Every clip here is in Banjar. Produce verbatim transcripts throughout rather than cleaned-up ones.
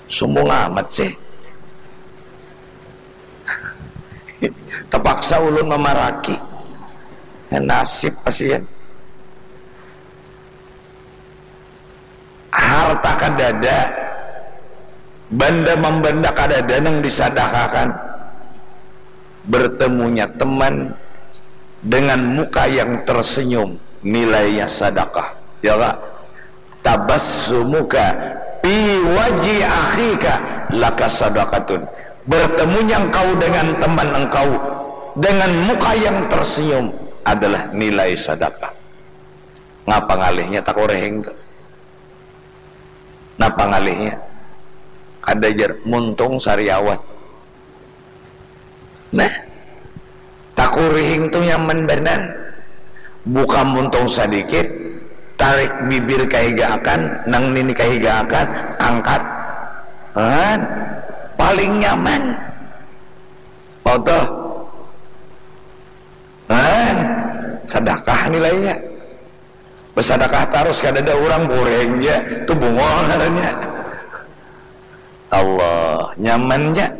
Sumbung amat sih. Tapaksa ulun mamaraki. Nasib pasian. Harta kadada, banda mambanda kadada nang disadakakan. Bertemunya teman dengan muka yang tersenyum, nilainya sadakah. Ya, Pak? Tabassumuka fi wajhi akhika laka sadaqatun. Bertemunya engkau dengan teman engkau dengan muka yang tersenyum adalah nilai sadakah. Ngapa ngalihnya takurihing tu? Napa ngalihnya? Kada jar, muntung sariawan. Nah, takurihing tu nyaman banar. Buka muntung sadikit, tarik bibir kahigaakan, nang nini kahigaakan, angkat. Han, paling nyaman. Mau tuh? Han, sadakah nilainya. Basadakah tarus kadada urang, kurihing ja, tu bungul ngarannya. Allah, nyaman ja.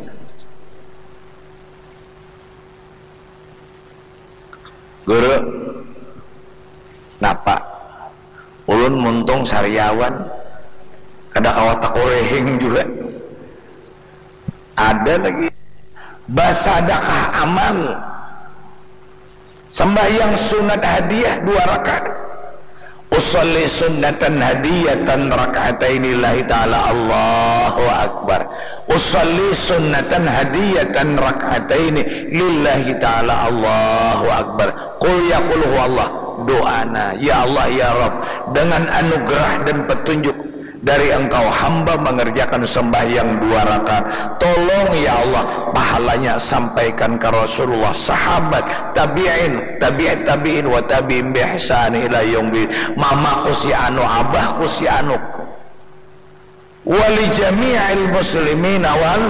Guru, napa? Ulun muntung sariawan, kada kawa takurihing jua. Ada lagi. Basadakah amal. Sembahyang sunat hadiah dua rakaat. Usalli sunnatan hadiyatan rak'ataini lillahi ta'ala, Allahu Akbar. Usalli sunnatan hadiyatan rak'ataini lillahi ta'ala, Allahu Akbar. Qul ya qul huwallah. Doana, ya Allah, ya Rabb, dengan anugerah dan petunjuk dari Engkau, hamba mengerjakan sembahyang dua rakaat. Tolong, ya Allah, pahalanya sampaikan ke Rasulullah, sahabat, tabi'in, tabi'it tabi'in, wa tabi'in bi ihsan ila yaumil. Mamaku si anu, abahku si anu. Wa li jami'il muslimin wal.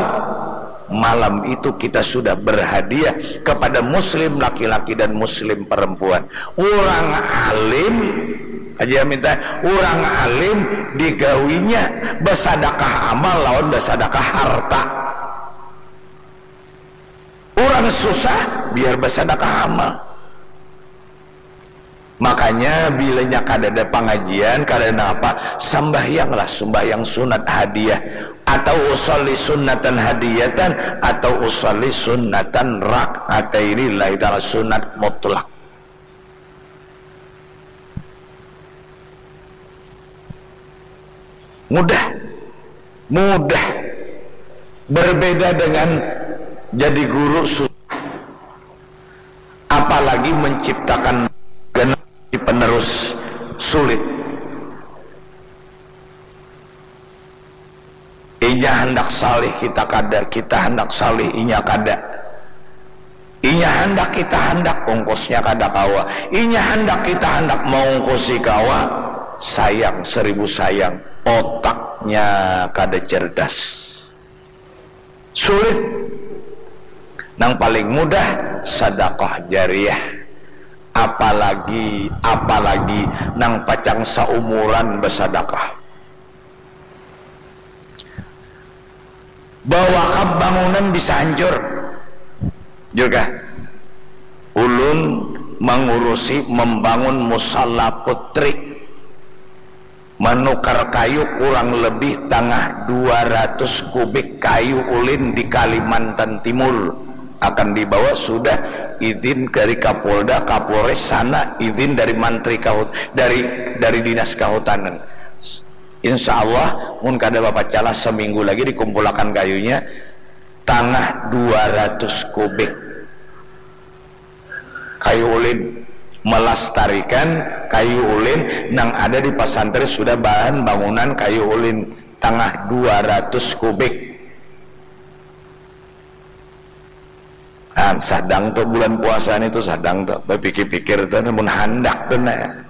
Malam itu kita sudah berhadiah kepada muslim laki-laki dan muslim perempuan. Urang alim, aja minta, urang alim digawinya basadakah amal lawan basadakah harta. Urang susah biar basadakah amal. Makanya bilanya kadada pangajian, kadada apa, sambahyanglah sumbahyang sunat hadiah, atau usalli sunnatan hadiyatan, atau usalli sunnatan rak'ataini lillahi ta'ala, sunat mutlak. Mudah. Mudah. Berbeda dengan jadi guru, susah. Apalagi menciptakan generasi penerus, sulit. Inya handak salih, kita kada, kita handak salih, inya kada. Inya handak, kita handak, ungkusnya kada kawa. Inya handak, kita handak, maungkusi kawa. Sayang, seribu sayang, otaknya kada cerdas. Sulit. Nang paling mudah, sadakah jariah. Apalagi, apalagi nang pacang saumuran basadakah. Bawakaf bangunan bisa hancur. Juga ulun mengurusi membangun musala putri, menukar kayu kurang lebih tangah dua ratus kubik kayu ulin di Kalimantan Timur akan dibawa, sudah izin dari Kapolda, Kapolres sana, izin dari mantri kahut dari dari dinas kahutanan. Insya Allah, mun kada bapacalah, seminggu lagi dikumpulakan kayunya, tangah dua ratus kubik. Kayu ulin, melestarikan kayu ulin nang ada di pasantri, sudah bahan bangunan kayu ulin tangah dua ratus kubik. Nah, sadang tu bulan puasa ni tu, sadang tu bapikir-pikir tu, namun handak tu nah.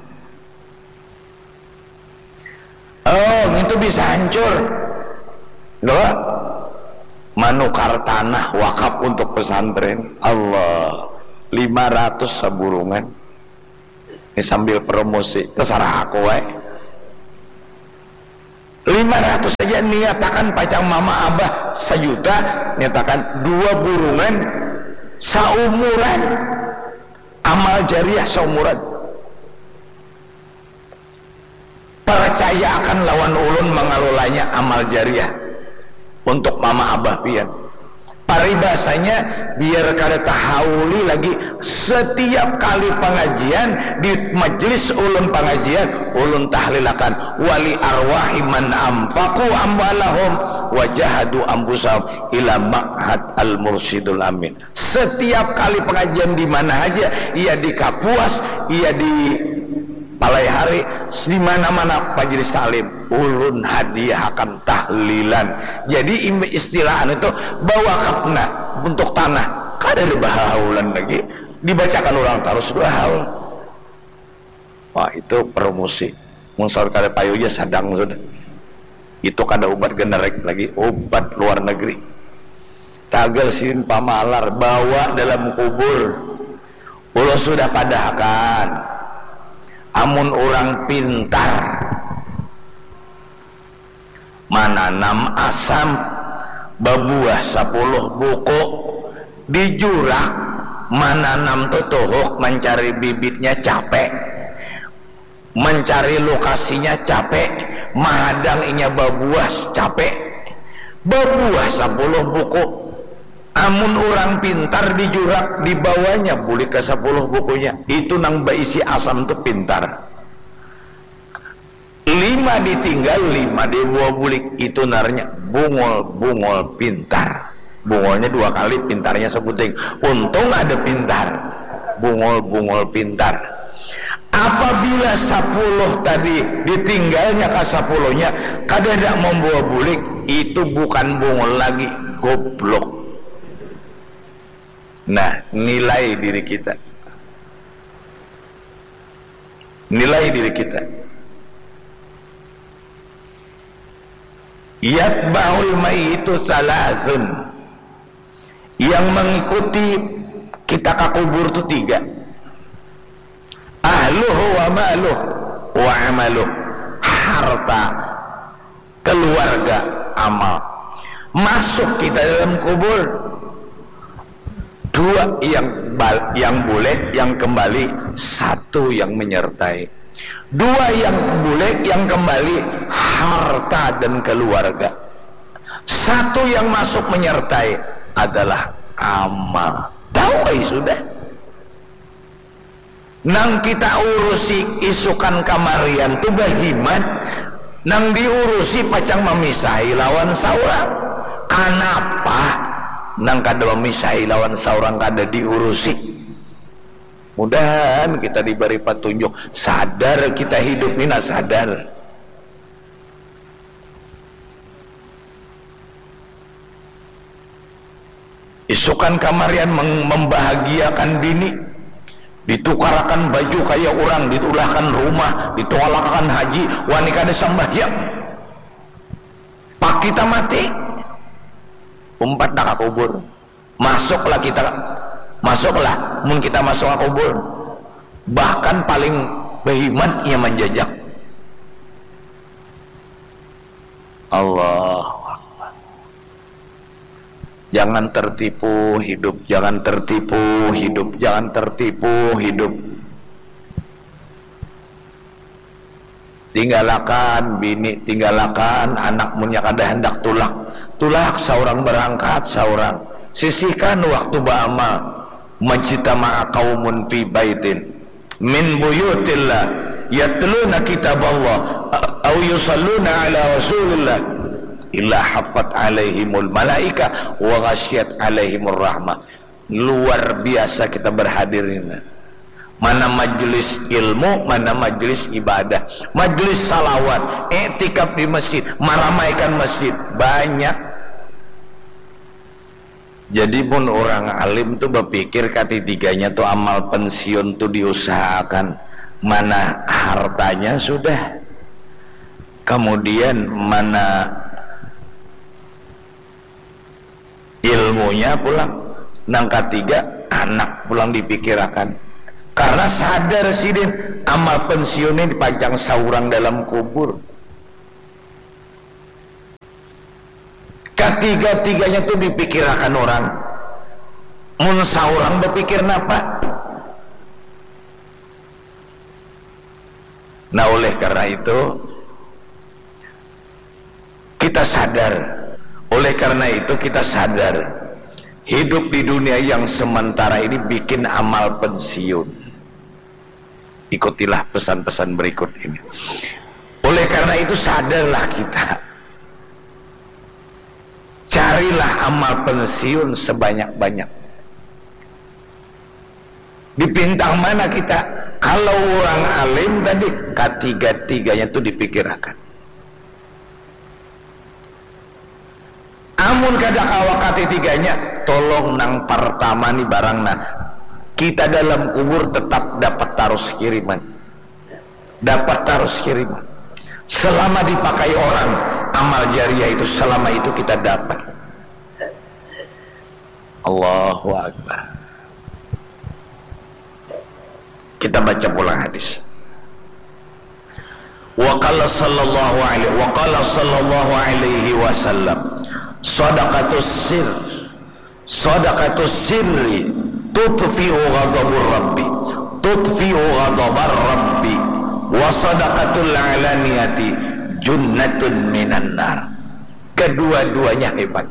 Oh, itu bisa hancur. Loh, manukar tanah wakaf untuk pesantren. Allah, lima ratus saburungan. Ini sambil promosi, terserah aku wae. Lima ratus saja, niatakan pacang mama abah sajuta, niatakan dua burungan saumuran, amal jariah saumuran. Percayaakan lawan ulun mangalolanya amal jariah untuk mama abah pian. Paribasanya, biar kada tahauli lagi, setiap kali pangajian, di majlis ulun pangajian, ulun tahlilakan, "Wali arwahi man anfaqu amwalahum wajahadu anfusahum ila ma'had al-mursyidul amin." Setiap kali pengajian di mana aja, ia di Kapuas, ia di Palai Hari, di mana-mana majlis taklim, ulun hadiahakan tahlilan. Jadi, im-, istilah anu tu, bawakafna untuk tanah, kada ada bahaulan lagi, dibacakan urang tarus dua haul. Wah, itu promosi. Mun saur kada payu ja sadang sudah. Itu kada ubat generik lagi, ubat luar negeri. Tagal sidin pamalar, bawa dalam kubur. Ulun sudah padahakan, amun urang pintar mananam asam babuah sapuluh buku, di jurak mananam tutuhuk, mancari bibitnya capek, mancari lokasinya capek, mahadang inya babuah capek, babuah sapuluh buku. Amun urang pintar di jurak, dibawanya bulik ka sapuluh bukunya. Itu nang baisi asam tu pintar. Lima ditinggal, lima dibawa bulik. Itu ngarannya bungul, bungul pintar. Bungulnya dua kali, pintarnya sabuting. Untung ada pintar. Bungul, bungul pintar. Apabila sapuluh tadi ditinggalnya ka sapuluhnya, kada ada mambawa bulik, itu bukan bungul lagi, goblok. Nah, nilai diri kita. Nilai diri kita. Yatba'ul mayyitu salasun. Yang mengikuti kita ka kubur tu tiga. Ahluhu wa maluh wa amaluh. Harta, keluarga, amal. Masuk kita dalam kubur, dua yang bal-, yang bulek, yang kembali, satu yang menyertai. Dua yang bulek, yang kembali, harta dan keluarga. Satu yang masuk menyertai adalah amal. Tahu ai sudah. Nang kita urusi isukan kamarian tu bahimat, nang diurusi pacang mamisahi lawan saurang. Kanapa nang kada mamisahi lawan saurang kada diurusi? Mudahan kita dibari patunjuk, sadar kita hidup ni, nah, sadar. Isukan kamarian mem-, membahagiakan bini, ditukarakan baju kaya urang, ditulahkan rumah, ditolakakan haji, wani kada sambahyang. Pak kita mati, umpat dah ka kubur. Masuklah kita, masuklah, mun kita masuk ka kubur. Bahkan paling bahimat inya manjajak. Allahu Akbar. Jangan tertipu hidup, jangan tertipu hidup, jangan tertipu hidup. Tinggalakan bini, tinggalakan anak, munnya kada handak tulak. Tulak saurang, barangkat saurang. Sisihkan waktu baamal. Majtama'a qaumun fi baitin min buyutillah yatluna kitaballah au yusalluna ala rasulillah illa haffat alaihimul malaika wa ghasyiyat alaihimur rahmah. Luar biasa kita berhadir ini. Mana majlis ilmu, mana majlis ibadah, majlis salawat, iktikaf di masjid, maramaikan masjid, banyak. Jadi mun urang alim tu bapikir katitiganya tu amal pensiun tu diusahakan, mana hartanya sudah, kemudian mana ilmunya pulang, nang katiga anak pulang dipikirakan, karena sadar sidin amal pensiun ini dipajang saurang dalam kubur. Katiga-tiganya tu dipikirakan orang. Mun saurang bapikir napa? Nah, oleh karena itu, kita sadar. Oleh karena itu, kita sadar. Hidup di dunia yang sementara ini bikin amal pensiun. Ikutilah pesan-pesan berikut ini. Oleh karena itu, sadarlah kita. Carilah amal pensiun sebanyak-banyak. Di pintang mana kita? Kalau orang alim tadi, katiga-tiganya tu dipikirakan. Amun kada kawa katitiganya, tolong nang partama ni barang nah. Kita dalam kubur tetap dapat tarus kiriman. Dapat tarus kiriman. Selama dipakai orang, amal jariah itu selama itu kita dapat. Allahu Akbar. Kita baca pulang hadis. Wa qala sallallahu alaihi, wa qala sallallahu alaihi wasallam, sadaqatus sir, sadaqatus sirri tutfi'u ghadabur rabbi, tutfi'u ghadabar rabbi, wa sadaqatul alaniyati junnatun minan nar. Kedua-duanya hebat.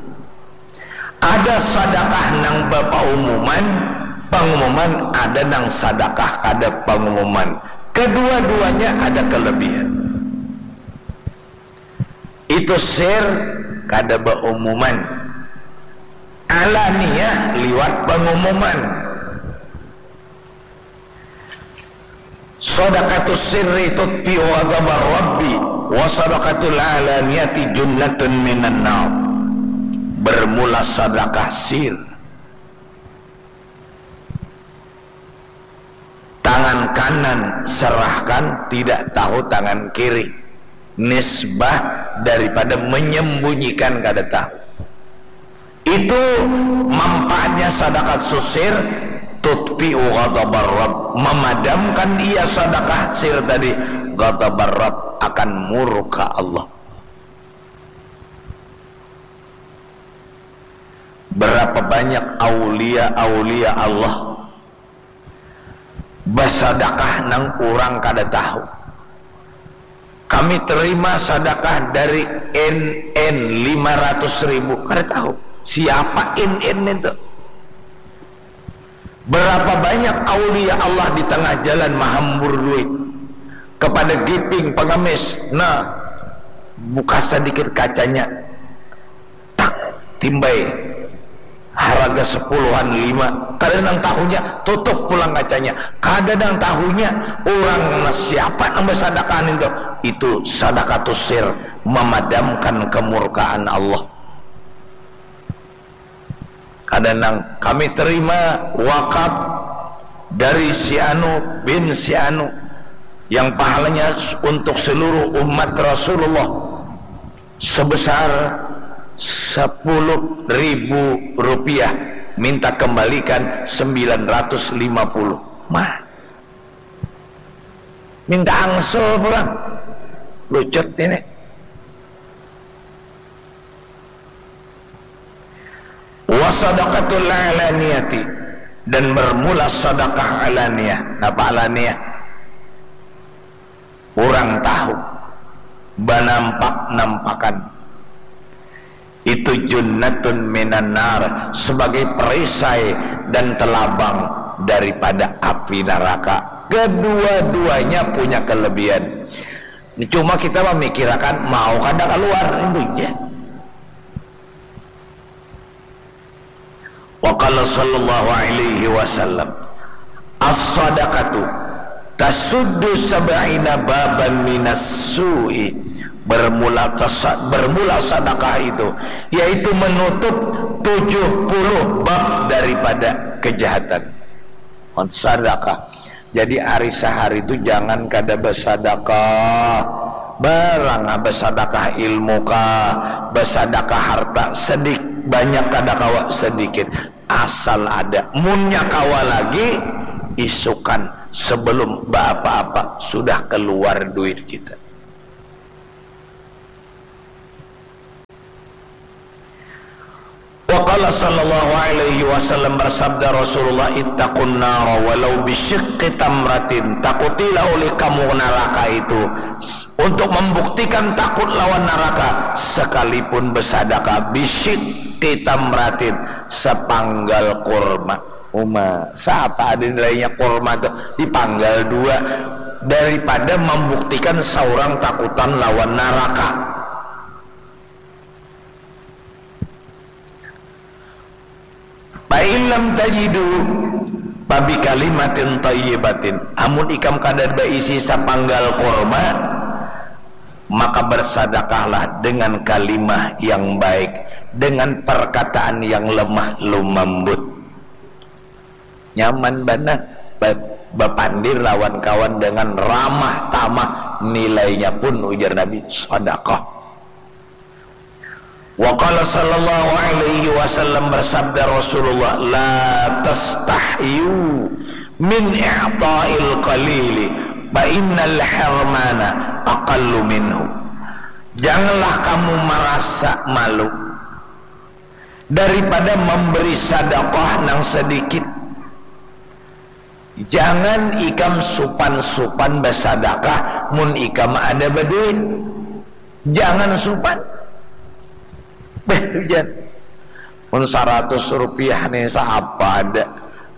Ada sadakah nang bapaumuman, pangumuman, ada nang sadakah kada pangumuman. Kedua-duanya ada kelebihan. Itu sir kada baumuman. Alaniyah liwat pangumuman. Sadaqatus sirri tutfi'u ghadabar rabbi, wa sadaqatul alaniyati junnatun minan nar. Bermula sadakah sir. Tangan kanan serahkan, tidak tahu tangan kiri. Nisbah daripada menyembunyikan kada tahu. Itu manfaatnya sadaqatus sir, tutfi'u ghadabar Rabb, memadamkan ia sadakah sir tadi, ghadabar Rabb, akan murka Allah. Berapa banyak aulia-aulia Allah basadakah nang urang kada tahu. Kami terima sadakah dari N N lima ratus ribu. Kada tahu siapa N N itu. Berapa banyak aulia Allah di tengah jalan mahambur duit. Kepada Giping pengemis, nah, buka sedikit kacanya. Tak, timbai. Haraga sepuluhan lima. Kada nang tahunya, tutup pulang kacanya. Kada nang tahunya, urang siapa nang basadakahan itu. Itu sadakatus sir, memadamkan kemurkaan Allah. Kada nang, kami terima wakaf dari si anu bin si anu, yang pahalanya untuk seluruh umat Rasulullah sebesar sepuluh ribu rupiah, minta kembalikan sembilan ratus lima puluh. Mah. Minta angsel pulang. Lucut ini. Wa sadaqatul alaniyati, dan bermula sadakah alaniyah. Napa alaniyah? Urang tahu, banampak-nampakan. Itu junnatun minan nar, sebagai perisai dan telabang daripada api neraka. Kedua-duanya punya kelebihan. Cuma kita memikirkan mau kada keluar itu je. Wa qala sallallahu alaihi wasallam, as-sadaqatu tasuddu sab'ina baban minas su'i. Bermula tasa-, bermula sadakah itu, yaitu menutup tujuh puluh bab daripada kejahatan. Sadakah. Jadi, ari sahari tu jangan kada basadakah. Barang, ah, basadakah ilmu kah, basadakah harta sedik-, banyak kada kawa, sedikit. Asal ada. Munnya kawa lagi, isukan sebelum baapa-apa sudah keluar duit kita. Qala sallallahu alaihi wasallam, bersabda Rasulullah, "Ittaqun nara walau bisyiqqi tamratin." Takutilah oleh kamu neraka itu untuk membuktikan takut lawan neraka, sekalipun bersadakah bisyiqqi tamratin, sepanggal kurma. Uma, siapa ada nilainya kurma tuh dipanggal dua daripada membuktikan seorang takutan lawan neraka. Fa in lam tajidu fa bi kalimatin thayyibatin. Amun ikam kada baisi sapanggal kurma, maka bersadakahlah dengan kalimah yang baik, dengan perkataan yang lemah lumambut. Nyaman banar ba-, bapandir lawan kawan dengan ramah tamah, nilainya pun, ujar Nabi, sadakah. Wa qala sallallahu alaihi wasallam, bersabda Rasulullah, "La tastahyu min i'ta'il qalili, fa innal hirmana aqallu minhu." Janganlah kamu merasa malu daripada memberi sedekah nang sedikit. Jangan ikam supan-supan basadakah mun ikam ada baduit. Jangan supan. Beh, hujan. Mun saratus rupiah nih, siapa ada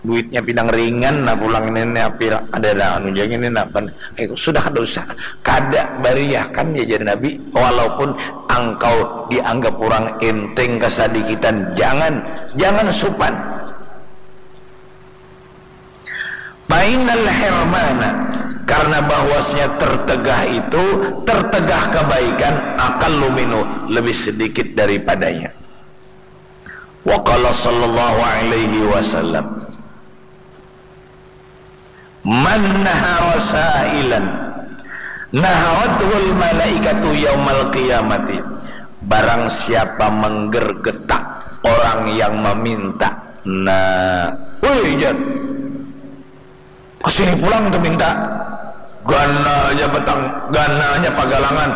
duitnya pinang ringan, nah pulang ini nih, apil ada dah anu jang ini, nah, pan. Eh, sudah kada usah. Kada bariakan ya, jar Nabi, walaupun angkau dianggap orang enteng kesedikitan, jangan, jangan supan. Fa innal hirmana, karena bahwasanya tertegah itu, tertegah kebaikan, aqallu minhu, lebih sedikit daripadanya. Wa qala sallallahu alaihi wasallam, "Man nahara sa'ilan, naharathul malaikatu yaumal qiyamati." Barang siapa menggergetak orang yang meminta, nah, woi, jar. Kesini pulang tuh minta. Ganalnya petang, ganalnya pagalangan.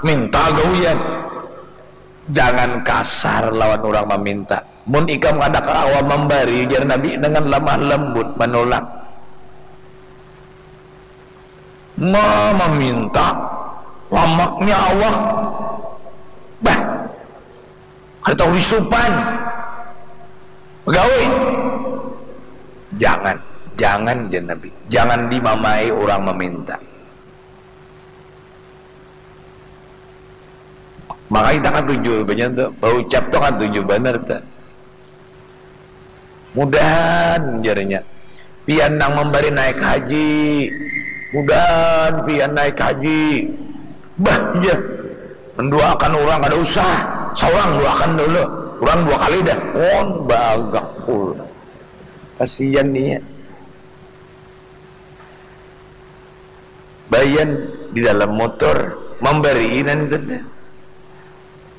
Minta gawian. Jangan kasar lawan orang meminta. Mun ikam kada kawa membari, jar Nabi, dengan lemah lembut menolak. Ma-, meminta, lamaknya awak. Bah, kada tahu disupan. Pegawai. Jangan, jangan, jar Nabi. Jangan dimamai orang meminta. Maka kita katuju, banyak tu, baucap tu katuju banar tu. Mudahan, jarnya, pian nang membari naik haji. Mudahan pian naik haji. Bah, ya. Mendoakan orang kada usah. Seorang doakan dulu. Orang dua kali dah. On bagak pula. Kasihan nih ya. Bayan di dalam motor, mambariinan itu teh.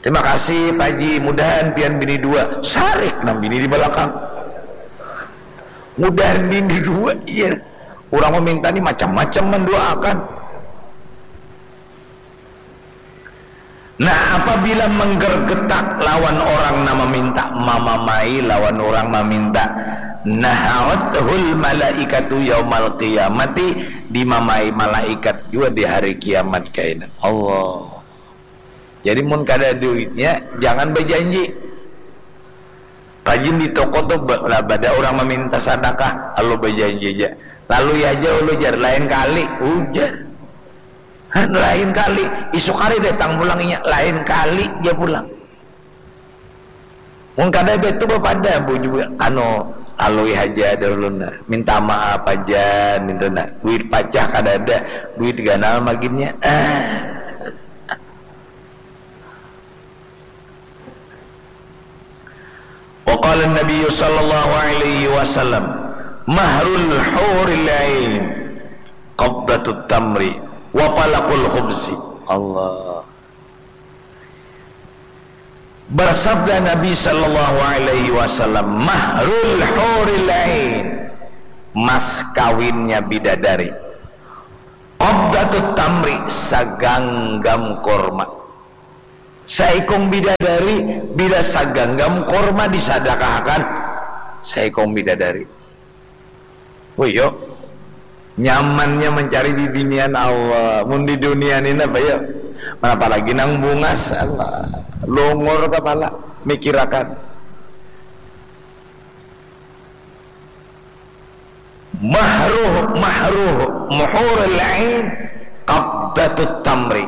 "Terima kasih, Pak Haji, mudahan pian bini dua." Sarik nang bini di belakang. "Mudahan bini dua, iya." Orang meminta ni macam-macam mendoakan. Nah, apabila menggergetak lawan orang nang meminta, mamamai lawan orang meminta, naharathul malaikatu yaumal qiyamati, dimamai malaikat jua di hari kiamat kaina. Allah. Jadi mun kada duitnya, jangan bajanji. Rajin di toko tu ba-, lah bada orang meminta sadakah, lalu bajanji ja. Lalu ya aja ulu jar, lain kali, ujar. Lain kali, isuk hari datang pulang inya, lain kali ja pulang. Mun kada betu bapada bu jua, anu, lalui haja dahulu nah, minta maaf aja nintu nah, duit pacah kada ada, duit ganal maginnya. Ah. Wa qala Nabi sallallahu alaihi wasallam, "Mahrul huril ain, qabdatut tamri, wa palakul khubzi." Allah. Bersabda Nabi sallallahu alaihi wasallam, "Mahrul huril ain, mas kawinnya bidadari, qabdatut tamri, saganggam kurma." Saikung bidadari, bila saganggam kurma disadakahakan saikung bidadari. Wih, yo. Nyamannya mencari bibinian Allah. Mun di dunia ni apa, yo? Mana apalagi nang bungas, Allah. Lungur kepala, mikirakan. Mahruh, mahruh, muhurul ain, qabdatut tamri.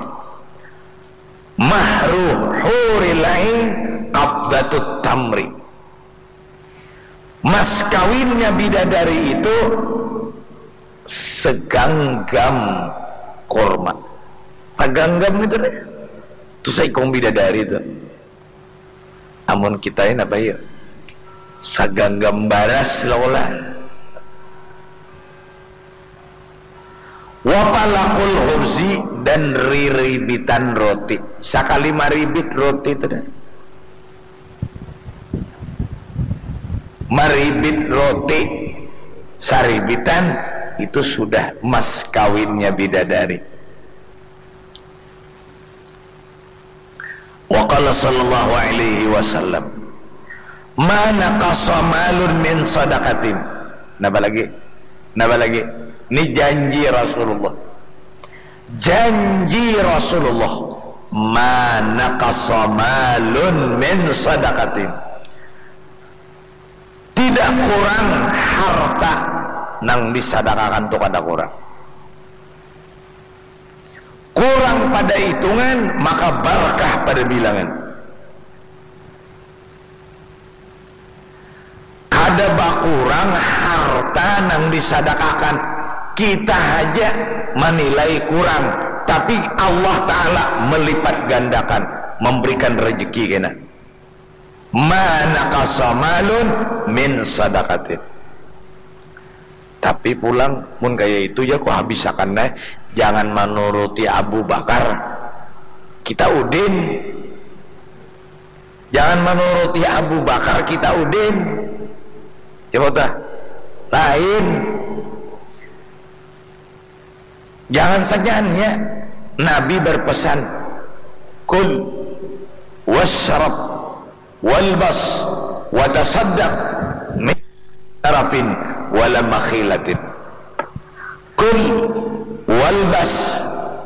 Mahruh huril ain, qabdatut tamri. Mas kawinnya bidadari itu seganggam kurma. Seganggam itu deh. Itu seikung bidadari itu. Amun kita ini apa ya? Saganggam baras lah ulah. Wapalakul khubzi, dan riribitan roti. Sakali maribit roti itu dah. Maribit roti saribitan, itu sudah mas kawinnya bidadari. Wa qala sallallahu alaihi wasallam, "Ma naqasa malun min sadaqatin." Napa lagi? Napa lagi? Ini janji Rasulullah. Janji Rasulullah. "Ma naqasa malun min sadaqatin." Tidak kurang harta nang disadakakan tu, kada kurang. Kurang pada hitungan, maka barkah pada bilangan. Kada bakurang harta nang disadakakan. Kita haja manilai kurang, tapi Allah Ta'ala melipat gandakan, memberikan rezeki kena. Ma naqasa malun min sadaqatin. Tapi pulang, mun kaya itu ja ku habisakan ai, jangan manuruti Abu Bakar, kita udin. Jangan manuruti Abu Bakar, kita udin. Ya, betul? Lain. Jangan saja ya, Nabi berpesan, "Kul wasyrab walbas watasaddaq min sarafin wala makhilatin." Kul walbas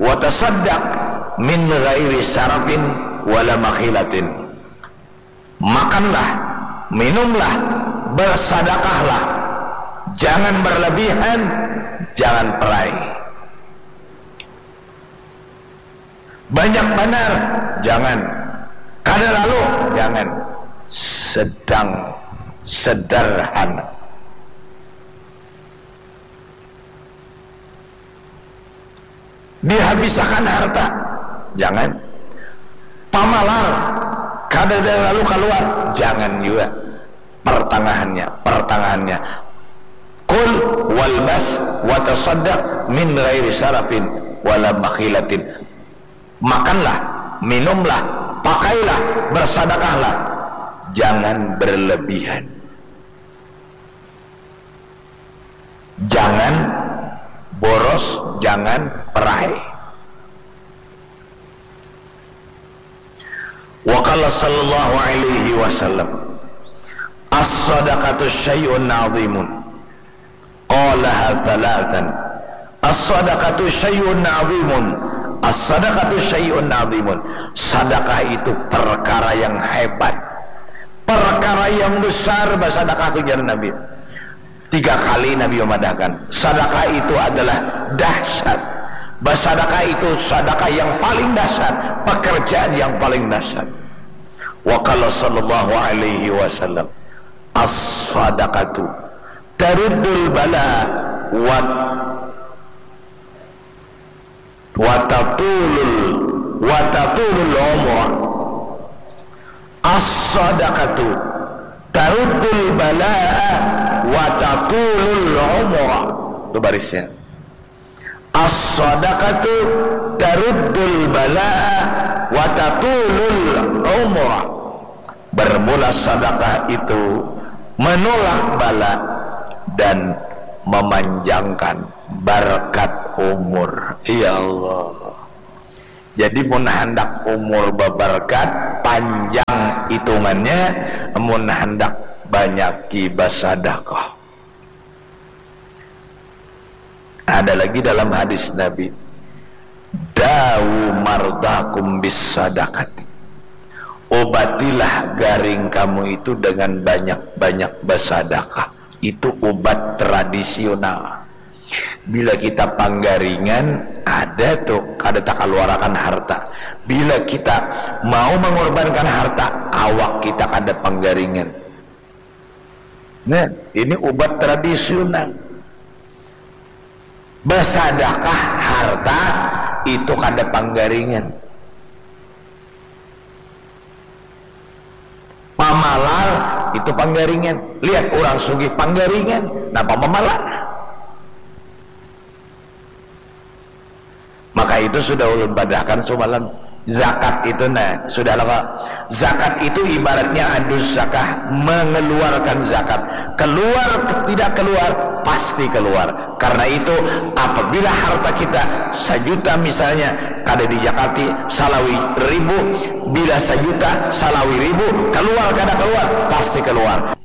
watasaddaq min ghairi sarafin wala makhilatin. Makanlah, minumlah, bersadakahlah, jangan berlebihan, jangan perai. Banyak banar, jangan. Kada lalu, jangan. Sedang, sederhana. Dihabisakan harta, jangan. Pamalar, kada ada lalu kaluar, jangan jua. Pertangahannya, pertangahannya. Kul walbas watasaddaq min ghairi sarafin wala makhilatin. Makanlah, minumlah, pakailah, bersadakahlah. Jangan berlebihan. Jangan boros, jangan perai. Wa qala sallallahu alaihi wasallam, "As-sadaqatu syai'un 'azimun." Qalaha thalathan. "As-sadaqatu syai'un 'azimun. As-sadaqatu syai'un 'azimun." Sadakah itu perkara yang hebat. Perkara yang besar, basadakah tu, jar Nabi. Tiga kali Nabi memadahkan, sadakah itu adalah dahsyat. Basadakah itu sadakah yang paling dahsyat, pekerjaan yang paling dahsyat. Wa qala sallallahu alaihi wasallam, "As-sadaqatu taruddul bala wa, wa tatulul, wa tatulul umra." As-sadaqatu taruddul bala'a wa tatulul umra. Itu barisnya. As-sadaqatu taruddul bala'a wa tatulul umra. Bermula sadakah itu menolak bala dan memanjangkan barakat umur. Ya Allah. Jadi mun handak umur babarkat, panjang itungannya, mun handak banyaki basadakah. Ada lagi dalam hadis Nabi, "Dawu mardakum bis sadakati." Obatilah garing kamu itu dengan banyak-banyak basadakah. Itu ubat tradisional. Bila kita panggaringan, ada tu kada takaluarakan harta. Bila kita mau mengorbankan harta, awak kita kada panggaringan. Nah, ini ubat tradisional. Basadakah harta itu kada panggaringan. Pamalal itu panggaringan. Lihat orang sugih panggaringan. Napa mamalal? Maka itu sudah ulun padahkan sumalam. Zakat itu, nah, sudah lah, Pak. Zakat itu ibaratnya adus zakah, mengeluarkan zakat. Keluar, tidak keluar, pasti keluar. Karena itu, apabila harta kita sajuta misalnya, kada dijakati, salawi ribu, bila sajuta, salawi ribu, keluar kada keluar, pasti keluar.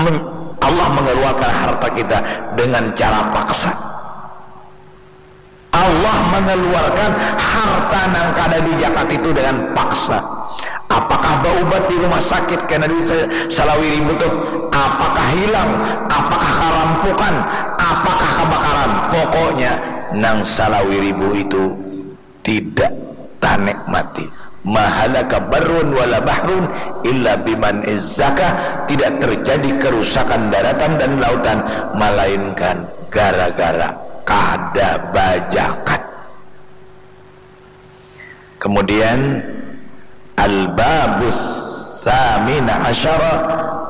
Men-, Allah mengeluarkan harta kita dengan cara paksa. Allah mengeluarkan harta nang kada dijakat itu dengan paksa. Apakah baubat di rumah sakit kena duit sa-, salawi ribu tuh? Apakah hilang? Apakah karampukan? Apakah kebakaran? Pokoknya nang salawi ribu itu tidak tanikmati. Mahalaka barrun wala bahrun illa biman izzaka, tidak terjadi kerusakan daratan dan lautan melainkan gara-gara kada bajakat. Kemudian, al-babus samina asyara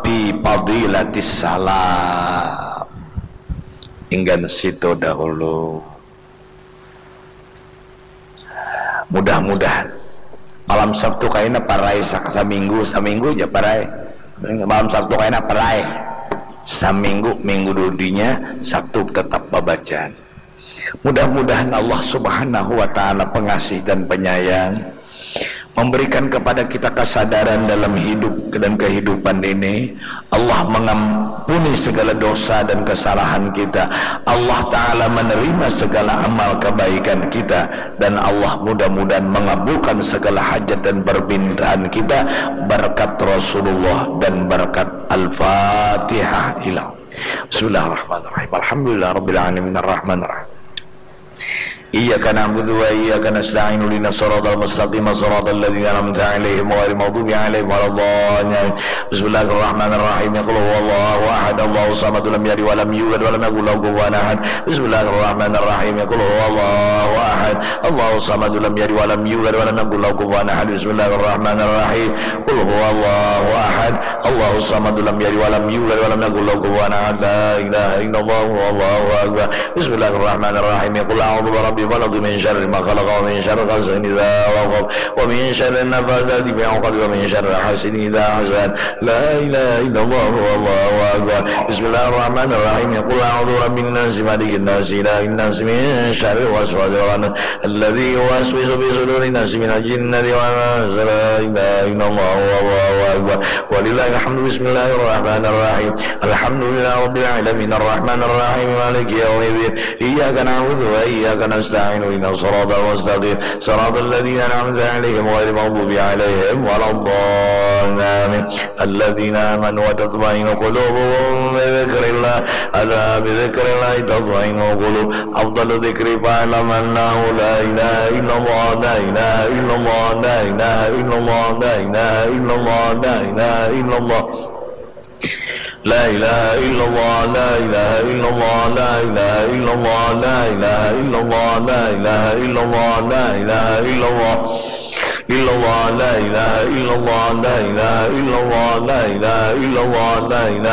fi fadilatis salam. Inggan situ dahulu. Mudah-mudahan malam Sabtu kaina parai sa-, saminggu, saminggu aja parai. Malam Sabtu kaina parai. Saminggu, minggu dudinya, Sabtu tetap babacaan. Mudah-mudahan Allah Subhanahu wa Ta'ala pengasih dan penyayang, memberikan kepada kita kesadaran dalam hidup dan kehidupan ini. Allah mengampuni segala dosa dan kesalahan kita. Allah Ta'ala menerima segala amal kebaikan kita. Dan Allah mudah-mudahan mengabulkan segala hajat dan permintaan kita berkat Rasulullah dan berkat Al-Fatihah. Ilang. Bismillahirrahmanirrahim. Alhamdulillah Rabbil Alamin. Arrahmanirrahim. Iyyaka na'budu wa iyyaka nasta'in. Ihdinas siratal mustaqim. Siratal ladzina an'amta 'alaihim ghairil maghdubi 'alaihim waladdallin. Bismillahirrahmanirrahim. Qul huwallahu ahad. Allahus samad. Lam yalid wa lam yulad wa lam yakul lahu kufuwan ahad. Bismillahirrahmanirrahim. Qul huwallahu ahad. Allahus samad. Lam yalid wa lam yulad wa lam yakul lahu kufuwan ahad. Bismillahirrahmanirrahim. Qul huwallahu ahad. Allahus samad. Lam yalid wa lam yulad wa lam yakul lahu kufuwan ahad. La ilaha illallah. Allahu akbar. Bismillahirrahmanirrahim. Qul a'udzu birabbil falaq, min syarri ma khalaq, wa min syarri ghasiqin idza waqab, wa min syarri nafatsati fil 'uqad, wa min syarri hasidin idza hasad. La ilaha illallah. Allahu akbar. Bismillahirrahmanirrahim. Qul a'udzu birabbin nas, malikin nas, ilahin nas, min syarril waswasil khannas, alladzi yuwaswisu fi sudurin nas, minal jinnati wan nas. La ilaha illallah. Allahu akbar. Walillahil hamdu. Bismillahirrahmanirrahim. Alhamdulillahi rabbil alamin. Arrahmanirrahim. Maliki yaumiddin. Iyyaka na'budu wa iyyaka nasta'in. Ihdinas siratal mustaqim. Siratal ladzina an'amta 'alaihim ghairil maghdubi 'alaihim waladdallin. Amin. Alladzina amanu wa tatma'innu qulubuhum bi dzikrillah. Ala bi dzikrillahi tatma'innul qulub. Afdalu dzikri fa'lam annahu la ilaha illallah, la ilaha illallah, la ilaha illallah, la ilaha illallah, la ilaha illallah. La ilaha illallah, la ilaha illallah, la ilaha illallah, la ilaha illallah, la ilaha illallah, la ilaha illallah. Illallah, la ilaha illallah, la ilaha illallah, la ilaha illallah, la ilaha